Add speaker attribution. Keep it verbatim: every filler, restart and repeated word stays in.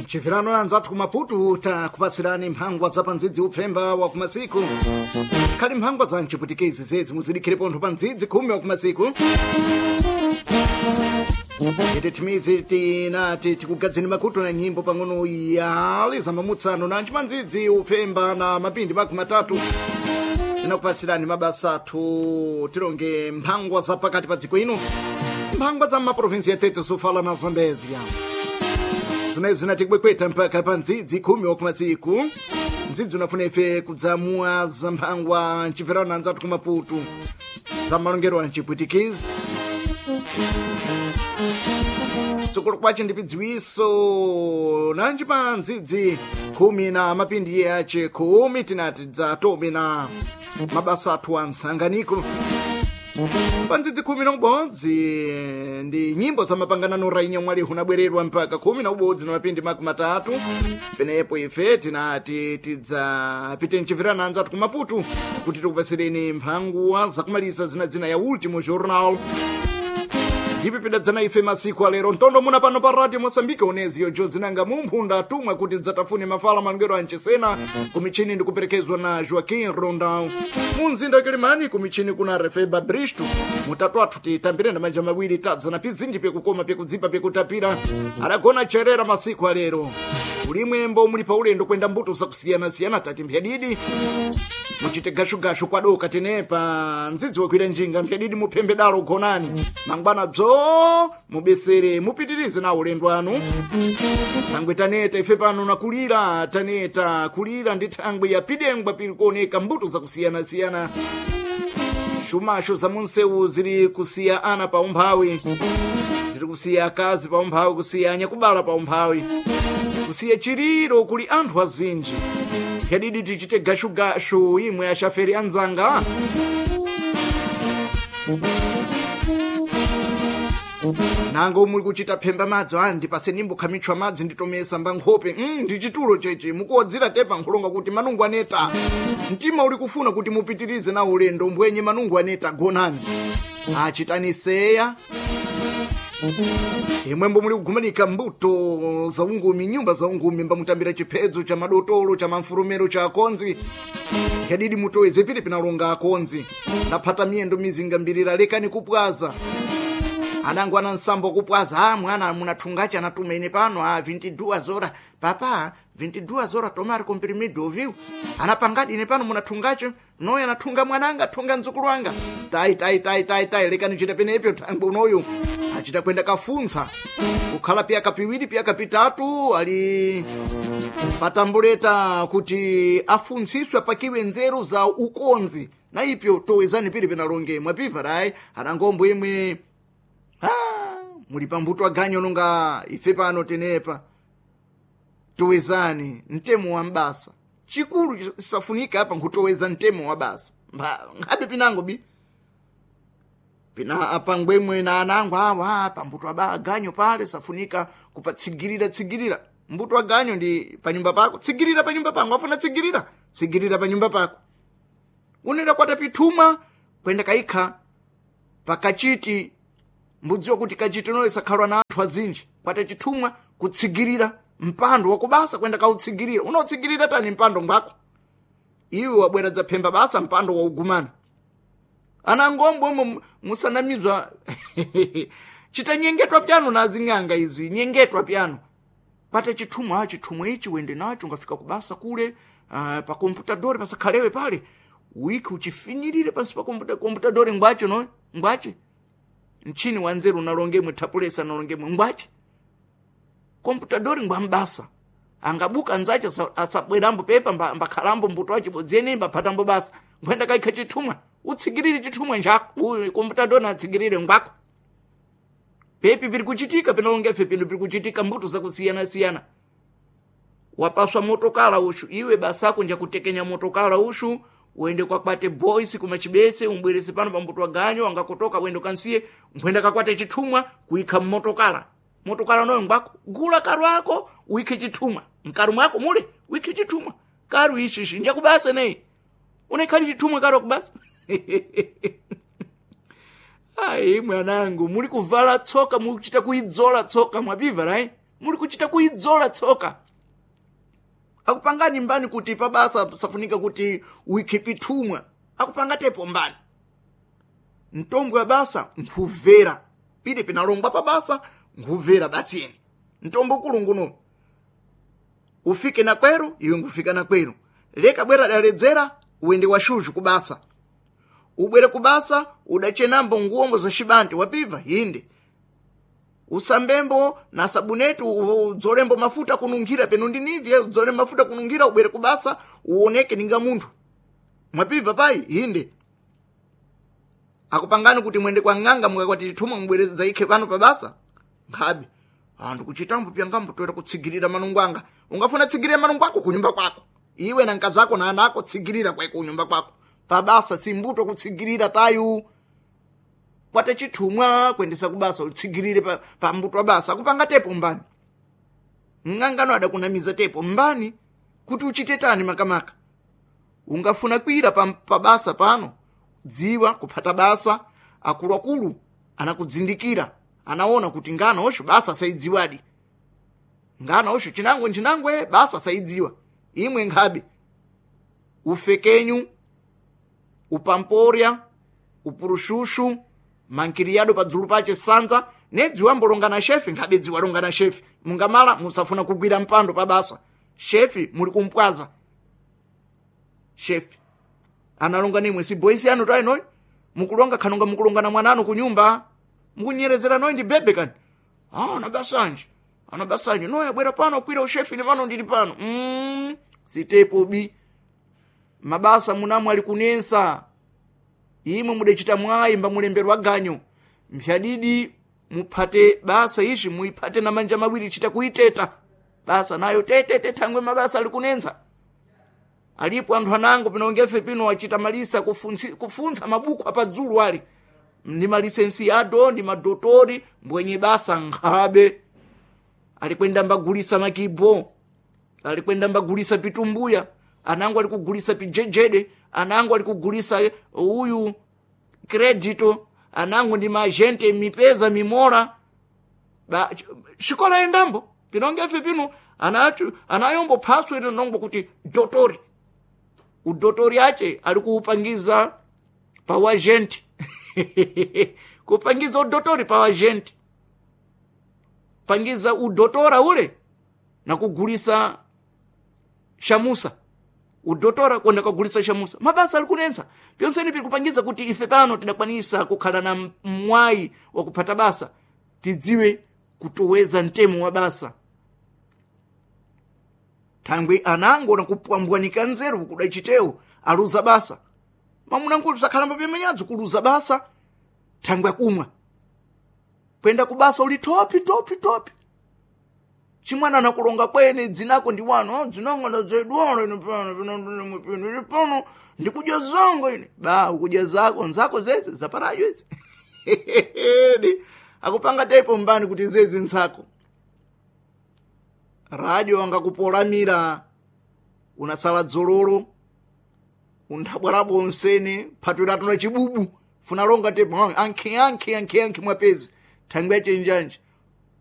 Speaker 1: Chifirano anzathu kumaputu takupatsirani mphangwa za pandzidzi upfemba wa kumasiku zikhali mphangwa za mchiputikezi zezi muzidikire pontho pa ndzidzi khumi wa kumasiku ite thimizi tinati tikugadzeni makutu na nyimbo pang'ono yali za mamutsano na nchimandzidzi upfemba na mapindi makumi matatu tinakupatsirani mabasa athu tilonge mphangwa za pakati pa dziko ino mphangwa za maprovinsi ya Tete Sofala na Zambezia zinayi zinatibwekweta mpaka pa ndzidzi khumi wakumasiku ndzidzi unafuna ife kudzamua za mphangwa mchibverano anzathu kumaputu za malongero a mchipwitikizi tsogolo kwace ndi pidziwiso nanji pa ndzidzi khumi na mapindi yace khumi tinati dzatobe na mabasa athu a msanganiko pa ndzidzi khumi na ubodzi ndi nyimbo za mapanganano rainya mwali hunabwererwa mpaka khumi na ubodzi na mapindi makumi matatu penepo ife tinati tidzapite mchibverano anzathu kumaputu kuti tikupasireni mphanguwa zakumalisa zinadzina ya ultimo jornal ndipo pidadzana ife masiku alero ntondo muna pano pa radio mosambike oneziyo jozinanga mumphunda atumwe kuti dzatafune mafala malongero ancesena kumichini ndikuperekezwa na joaquim rondão munzinda wakilimani kumichini kuna refeba bristo mutatu athu titambire na manja mawiri tadzana pizinji pyekukoma pyekudzipa pyekutapira adagona cherera masiku alero ulimwembo muli pa ulendo kwenda mbuto zakusiyanasiyana tati mphyadidi muchite gashugashu kwadoka tenepa ndzidzi wakwira njinga mphyadidi muphembe dalo gonani mangwana bzo mubesere mupitirize na ulendo anu thangwe taneta ife pano nakulira taneta kulira ndi thangwe ya pidengwa pili kuoneka mbuto zakusiyanasiyana shumasho za munsewu zili kusiya ana pa umphawi zili kusiya akazi pa umphawi kusiya anyakubala pa umphawi kusiya chiriro kuli anthu azinji yadidi tichite gashugashu imwe ashaferi anzanga nango muli kuchita phemba madzi a ndipase nimbo khamitchwa madzi nditomesa mbankhope mm, ndi chitulo chechi mukuodzera tepa nkhulonga kuti manungu aneta mtima uli kufuna kuti mupitirize na ulendo mbwenye manungu aneta gonani achitani seya imwembo muli kugumanika mbuto za ungumi nyumba za ungumi mbamutambira chiphedzo cha madotolo cha mamfurumero cha akonzi yadidi mutoweze pili pinalonga akonzi ndaphata miyendo mizinga mbirira lekani kupwaza anangu ana nsambo kupwaza a mwana munathungachi anatuma ine pano a vinte e duas zora papa vinte e duas zora tomar comprimido ouviu anapangadi ine pano munathungachi noyo anathunga mwananga thunga mdzukulu wanga tai tai tai tai tai lekani chita penepyo thangwe unoyu achita kwenda kafuntsa kukhala piyaka piwiri piyaka pitatu ali patambuleta kuti afuntsiswe apakiwe nzeru za ukonzi na ipyo towezani pili penalonge mwapiva rai anangombo imwe ah, muli pambuto aganyo nonga ife pano tenepa towezani mtemo wa mbasa chikulu chisafunika apa nkutoweza mtemo wa basa nkhabe pinango bi pina apangwemwe na anango awa pambuto aba aganyo pale safunika kupatsigirira tsigirira mbuto aganyo ndi panyumba pako tsigirira panyumba pangu afuna tsigirira tsigirira panyumba pako unenda kwata pithuma kwenda kaikha pakachiti mbudziwa kuti kachiti noyo sakhalwa na anthu azinji kwata chithumwa kutsigirira mpando wakubasa kwenda kautsigirira unautsigirira tani mpando ngwako iwe wabwera dzaphemba basa mpando waugumana anangombo omwe musanamizwa chita nyengetwa pyano na azing'anga izi nyengetwa pyano pata chithumwa chithumwa ichi wende nacho ungafika kubasa kule uh, pa komputadori pasakhalewe pale wiki uchifinyirire pansi pa komputa komputadori ngwache no ngwache mchini wanzeru unalongemwe thapulesa unalongemwe ngwache komputadori ngwambasa angabuka nzache asabwerambo pepa mbakhalambo mbuto wache bodzeni mbaphatambo basa nkhwenda kaikha chithumwa utsigirire chithumwa njako uyu komputadori atsigirire ngwako pepi piri kuchitika pinalongefe pino piri kuchitika mbuto zakusiyana-siyana wapaswa motokala ushu iwe basako njakutekenya motokala ushu uende kwakwate boys kumachibese umbwerese pano pambuto waganyo angakotoka uende kansiye nkhwenda kakwate chithumwa kuikha mmotokala motokala noyo ngwako gula karu ako uikhe chithumwa mkaru mwako mule uikhe chithumwa karu ishishi njakubasa neyi unekhali chithumwa karu akubasa ayi mwanangu muli kuvala tsoka mukuchita kuidzola tsoka mwapiva right Muli kuchita kuidzola tsoka. Akupangani mbani kuti pabasa safunika kuti uikhipi thumwa. Akupanga tepo mbani. Mtombwe wa basa nkhuvera. Pide pinalongwa pabasa nkhuvera basi yene. Mtombo kulunguno. Ufike na kweru, iwe ngufika na kweru. Leka bwera daledzera, uende washuzhu kubasa. Ubwere kubasa, udachenambo nguombo za shibanti wapiva yinde. Usambembo na sabunetu udzolembo mafuta kunungira peno ndinivye udzole mafuta kunungira ubwere kubasa uoneke ninga munthu. Mwapiva pai yinde. Akupangani kuti mwende kwa ng'anga mukakwati chithumwa mubwereza ikhe pano pabasa. Nkhabe. Anthu kuchitambo pyangambo toera kutsigirira manungu anga. Ungafuna tsigirira manungu ako kunyumba kwako. Iwe na mkazi ako na ana ako tsigirira kweko kunyumba kwako. Pabasa simbuto kutsigirira tayu. Kwate chithumwa kwendesa kubasa utsigirire pa, pa mbuto wa basa. Akupanga tepo mbani. Ng'angano adakunamiza tepo mbani kuti uchite tani makamaka. Ungafuna kwira pa, pabasa pano. Dziwa kuphata basa akuluakulu anakudzindikira anaona kuti ngana osho basa saidziwadi. Ngana osho chinangwe nchinangwe basa saidziwa. Imwe nkhabe ufekenyu upamporya upurushushu mankiriyado padzulu pache sanza nedziwa mbolonga na shefi nkhabe dziwa longa na shefi mungamala musafuna kugwira mpando pabasa shefi muli kumpwaza shefi analonga nimwe si boys anu tayi noyi mukulonga khanonga mukulonga na mwananu kunyumba mukunyerezera noyi ndi bebe kani ah ana basanje ana basanje noyi abwera pano kwira ushefi ni pano ndili pano mm, sitepo bi mabasa munamwe ali kunensa imwe mudachita mwayi mba mulemberwa ganyo mphyadidi muphate basa ishi muiphate na manja mawiri chita kuiteta basa nayo tetete thangwe mabasa ali kunensa alipo anthu anango pinongefe pino achita malisa kufunsi, kufunsa mabuku apadzulu ali ndi malisensiado ndi madotori mbwenye basa nkhabe alikwenda mbagulisa makibo alikwenda mbagulisa pitumbuya anango alikugulisa pijejede anango alikugulisa uyu kredito anango ndi maagente mipeza mimola ba xikola endambo pinongefe pino anachu anayombo phaswe ino nongo kuti dotori udotori ache ali kuupangiza pa wagenti kupangiza udotori pa wagenti pangiza udotora ule na kugulisa shamusa udotora kwenda kugulisa shamusa mabasa ali kunensa pyonseni pikupangiza kuti ife pano tidakwanisa kukhala na mwayi wa kuphata basa tidziwe kutoweza mtemo wa basa thangwe anango nakupwambwanika nzeru kudachitewo aluza basa mamunankuti sakhalamba pyemenyadzo kuluza basa thangwe akumwa kwenda kubasa uli topi topi topi chimwana anakulonga kwene dzinako ndi wano dzinanga ndadzedwala ine pano pano pano ine pano ndikudya zanga ine ba ukudya zako nzako zeze zaparajo izi akupanga tepo mbani kuti zezi nzako radio angakupolamira unasala dzololo unthabwalabo onsene phatwiratu na chibubu funalonga tepo ankhi ankhi ankhi ankhi mwapezi thangwe yachenjanji